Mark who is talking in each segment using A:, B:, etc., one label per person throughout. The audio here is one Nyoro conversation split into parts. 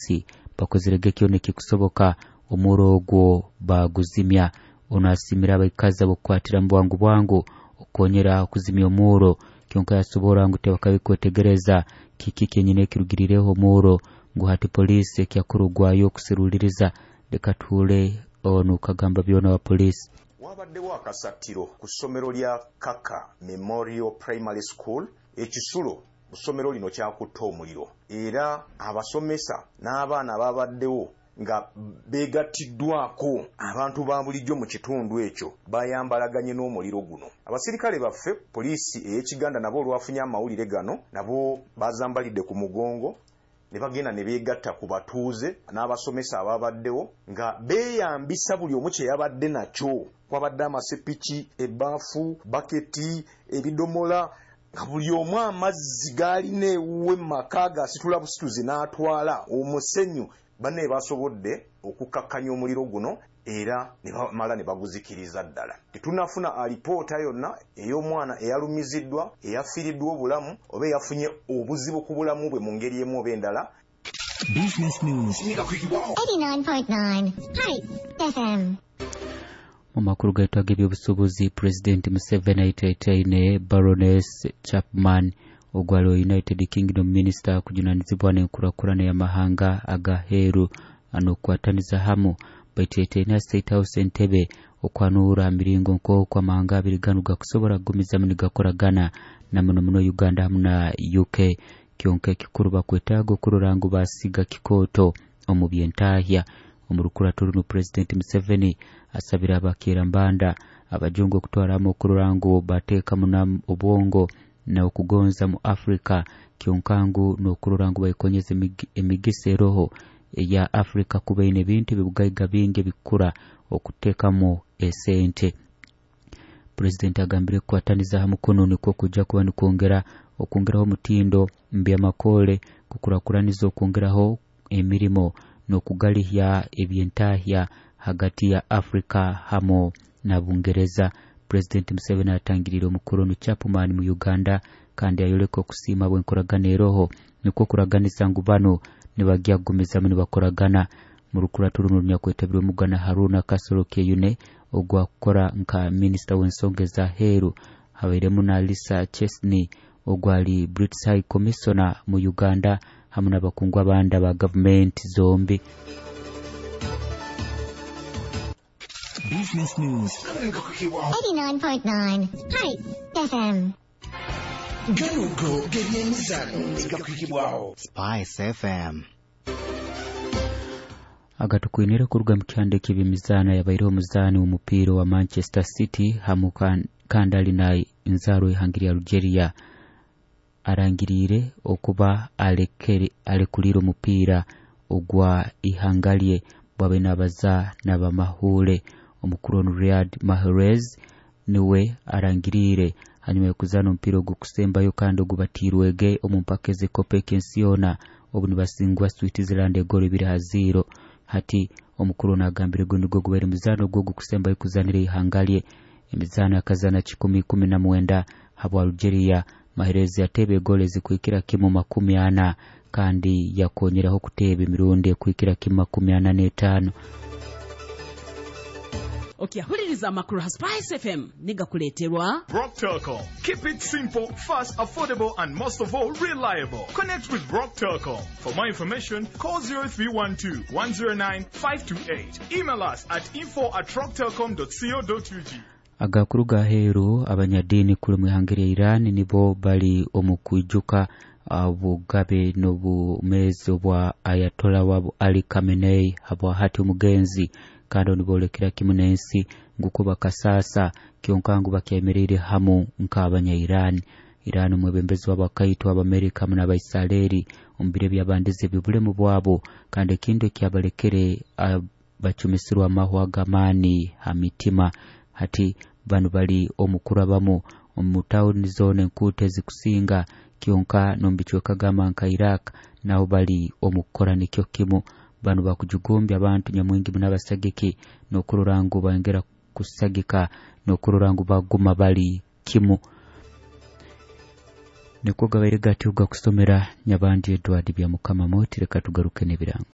A: Poliisi bakozerege kyona ekikusoboka omuro ogwo baguzimya. Ono asimire abaikazi abokukwatira mu bwangu bwangu okukonyera okuzimya omuro, kyonka yasobora ngu tebakabikwetegereza kiki kyenyine ekirugirireho omuro, ngu hati poliisi ekyakurugwayo okusiruliriza. Leka tuhure onu kagamba byona wa poliisi.
B: Wabaddewo akasattiro ku ssomero lya Kaka Memorial Primary School ekisulo ku ssomero lino kyakutte omuliro era abasomesa n'abaana ababaddewo nga beegattiddwaako abantu ba bulijjo mu kitundu ekyo bayambalaganye n'omuliro guno. Abasirikale baffe poliisi ey'e Kiganda nabo olwafunye amawulire gano nabo bazambalidde ku mugongo ne bagenda ne beegatta ku batuuze n'abasomesa ababaddewo nga beeyambisa buli omu kye yabadde nakyo. Kwabadde amasepiki, ebbaafu, baketi, ebidomola nga buli omu amazzi g'alina ewuwe mu maka g'asitula busituzi n'atwala omusenyu. Banne basobodde okukkakkanya omuliro guno era ne bamala ne baguzikiriza ddala. Tetunnafuna alipoota yonna ey'omwana eyalumiziddwa, eyafiiriddwa obulamu oba eyafunye obuzibu ku bulamu bwe mu ngeri emu oba endala.
C: Business News
D: 89.9 Spice FM.
A: Mu makulu gaitu ag'ebyobusuubuzi, Pulezidenti Museveni aitaitaine Baroness Chapman ogwali wa United Kingdom Minister kujunanizibwa n'enkurakurana y'amahanga agaheeru n'okukwataniza hamu. Baitaitaine State House Entebbe okwanuura miringo nk'oku amahanga abiri ganu gakusobora kugumizamu nigakoragana na muno muno Uganda hamu na UK. Kyonka ekikuru bakwetaaga okurora ngu basiga kikooto omu byentahya. Omu rukurato runo Pulezidenti Museveni asabire abakerambanda abajungu okutwaramu okurora ngu bateekamu na obwongo na okugonza mu Afrika, kyonka ngu n'okurora ngu baikonyeza emigisa eroho eya Afrika kuba eine ebintu ebibugaiga bingi ebikukura okuteekamu esente. Pulezidenti agambire kukwataniza hamu kuno nikwo kujja kuba nikwongera okwongeraho omutindo mu byamakole, kukurakuraniza okwongeraho emirimo n'okugalihya ebyentahya hagati ya Afrika hamu na Bungereza. Pulezidenti Museveni atangiriire omukuru Chapman mu Uganda kandi ayoleka okusiima bw'enkoragana eroho, nikwo kuraganisa ngu bano nibagya kugumizamu nibakoragana. Mu rukurato runo runyakwetebirwe Mugana Haruna Kasolo Kyeyune ogwakukora nka minisita w'ensonga ez'aheeru, habairemu na Lisa Chesney ogwali British High Commissioner mu Uganda hamu n'abakungu abandi aba gavumenti zombi.
C: Business News
D: 89.9 Spice FM.
C: Ganugo g'ebyemizano negakwikibwaho
E: Spice FM.
A: Agatukwinire kuruga mu kyanda eky'ebyemizaano, yabaireho omuzaani w'omupiira wa Manchester City hamu kandi ali na nzaarwa ihanga lya Algeria, arangiriire okuba alekulire omupiira ogwa ihanga lye bwabe nabaza n'abamahuule. Omukuru onu Riyad Mahrez niwe arangiriire hanyuma y'okuzaana omupiira ogukusembayo kandi ogubatiirwege omu mpaka ez'ekopo ek'ensi yoona obu nibasingwa Switzerland egoro 2-0. Hati omukuru ono agambire guno nigwo gubaire muzaano ogwo ogukusembayo kuzaanira ihanga lye. Emizaano akazaana 119 habwa Algeria. Mahrez yateeba egoro ezikuhikira kimu 40 kandi yakonyeraho kuteeba emirundi ekuhikira kimu 45.
F: Okyahuliriza amakuru ha Spice FM nigakuleeterwa
G: Rock Telcom. Keep it simple, fast, affordable, and most of all, reliable. Connect with Rock Telcom. For more information, call 0312 109 528. Email us at info@rocktelcom.co.ug.
A: Agakuru gaheeru, abanyadiini kuli mu ihanga lya Iran nibo bali omu kwijuka obugabe n'obumezi obwa Ayatollah wabo Ali Khamenei habwa hati omugenzi, kandi niboolekera kimu n'ensi nguko bakasaasa kyonka ngu bakyemereire hamu nk'abanya-Iran. Iran omwebembezi wabo akaitwa Abamerika hamu n'Abaisiraeli omu biro ebyabandize eby'obulemu bwabo, kandi ekintu ekyabalekere bacumisirwe amahwa g'amaani ha mitima. Hati banu bali omu kurabamu omu tawuni zoona enkuuto ezikusinga, kyonka n'omu bicweka gamba nka Iraq naho bali omu kukora nikyo kimu. Banu bakujugumbya abantu nyamwingi muno abasagiki n'okurora ngu bongera kusagika n'okurora ngu baguma bali kimu. Nikwo gabaire gatyo gakusomera Nyabandi Edward Byamukama Moti. Reka tugaruke n'ebirango.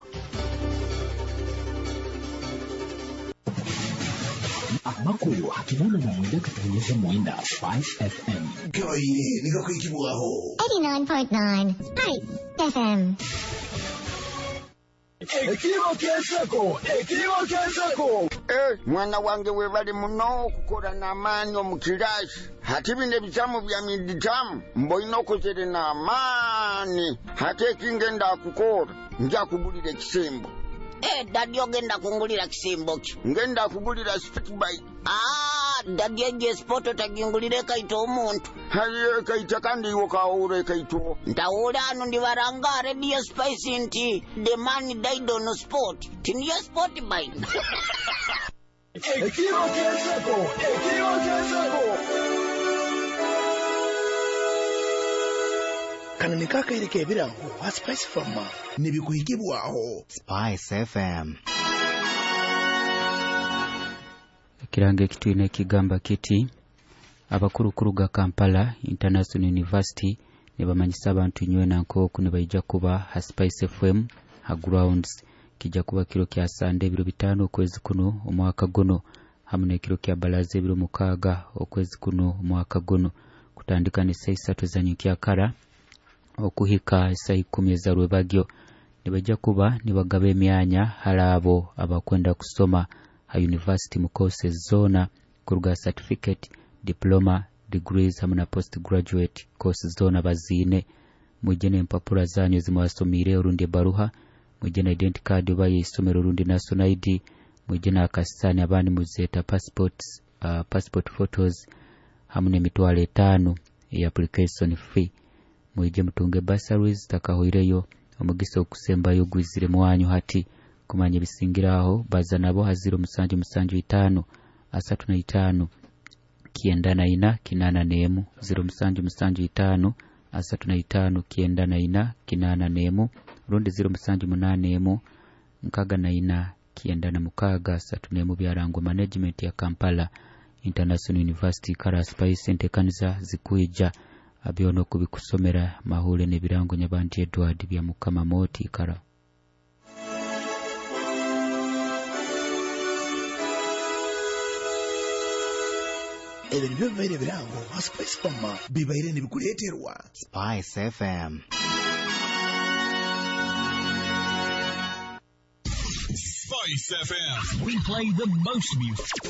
E: Amakuru 89 katonyeza mwenda Spice FM.
C: Gabaire nigakwikibwaho
D: 89.9 Spice FM.
C: Ekiribo ky'enseko, ekiribo ky'enseko.
H: Mwana wange webali muno okukora n'amaani omu kirasi. Hati bino ebizamu bya miditamu mboine okozere n'amaani. Hati ekingenda kukora nja kugulira ekisembo.
I: Dadi ogenda kungulira kisembo ki?
H: Ngenda kugulira sport bike.
I: Dadi egyo sport otagingulira ekaita omuntu.
H: Haye ekaita kandi iwe kawura ekaito.
I: Ntawula ano ndibaranga Radio Spice nti the man died on sport. Tiniyo sport bike.
C: Ekiribo ky'enseko, ekiribo ky'enseko. Kano ni kakaire k'ebirango ha Spice Farmer nibikuhikibwaho
J: Spice FM.
A: Ekirango ekitwine ekigamba kiti abakuru kuruga Kampala International University nibamanyisa abantu nywena nk'oku nibaija kuba ha Spice FM ha grounds. Kijja kuba kiro kya Sande ebiro 5 okwezi kuno omwaka guno, hamu n'ekiro kya Balaza ebiro 6 okwezi kuno omwaka guno, kutandika ne saa 3 za nyenkyakara okuhika saa 10 za rwebagyo. Nibajja kuba nibagaba emyanya hali abo abakwenda kusoma ha university mu courses zona kuruga certificate, diploma, degrees hamu na postgraduate courses zona baziine. Mwije n'empapura zanyu zimwasomire orundi ebaruha, mwije na identity card oba y'eisomero orundi national ID, mwije n'akasisani abandi muzeeta passports, passport photos hamu n'emitwalo 5 eya application fee. Mwije mutunge bursaries takahoireyo omugisa okusembayo gwizire mwanyu hati. Kumanya ebisingiraho baza nabo ha 0775 35 94 81, 0775 35 94 81, rundi 0781 64 96 31. Byarangwa management ya Kampala International University. Kara Spice entekaniza zikuija abyono kubikusomera mahule n'ebirango Nyabanti Edward Byamukama Moti. Kara
C: ebyo nibyo bibaire ebirango ha Spice Farmer bibaire nibikuleeterwa
J: Spice FM.
G: Spice FM. We play the most music.